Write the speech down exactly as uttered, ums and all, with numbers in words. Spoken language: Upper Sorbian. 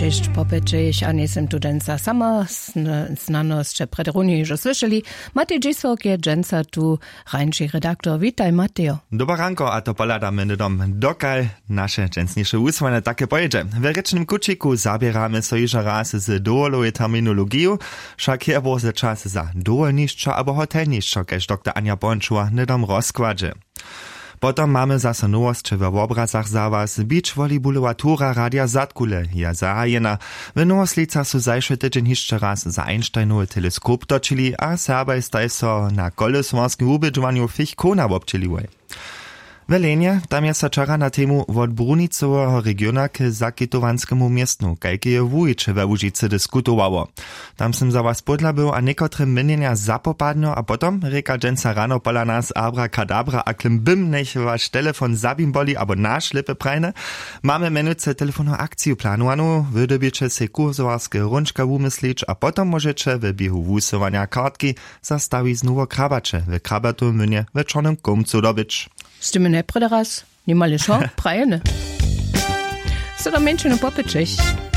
Cześć, popyćech, a njejsym tu dźensa sama. Znanosće prederunje hižo słyšeli. Matej dźisłok je dźensa tu, rańši redaktor. Witaj, Matejo. Dobre ranko, a to pohladamy hnydom, dokal naše dźensniše wusłanje take pojědźe. W rěčnym kućiku zaběramy so hižo raz z dowolowej terminologiju. Wšak je bórze čas za dowolnišćo abo hotelnišćo, kaž doktor Anja Pońčowa hnydom rozkładźe. Potom mamy zaso nowosće we wobrazach za was. Beach volleyballowa tura Radija Zadkule je zahajena. W Nowoslicach su zašły tydźeń hišće raz za Einsteinowy teleskop točili a Serbaj staj so na koleswarskim wubědźowanju Fich Kona wobdźěliłoj. W Lenje, tam je so wčera na temu wot brunicoweho regiona k zakitowanskemu městnu kajkeje wuwiće we Łužicy diskutowało. Tam sym za was pódla był a někotre měnjenja zapopadnjo a potom rěka dźensa rano pola nas abrakadabra a klim bym, njech waš telefon zabimboli abo naš lěpy prajny. Mamy mjenujcy telefonow akciju planowanu. Wy dyrbjeće sej kursowarske hrónčka wumyslić a potom móžeće w běhu wusyłanja kartki za stawiznu wo krabaće w krabatowym młynje w čornym kołmcu dobyć. Z tym je prjedy raz nimale šo prajene. So do mjeńšinu popyćech.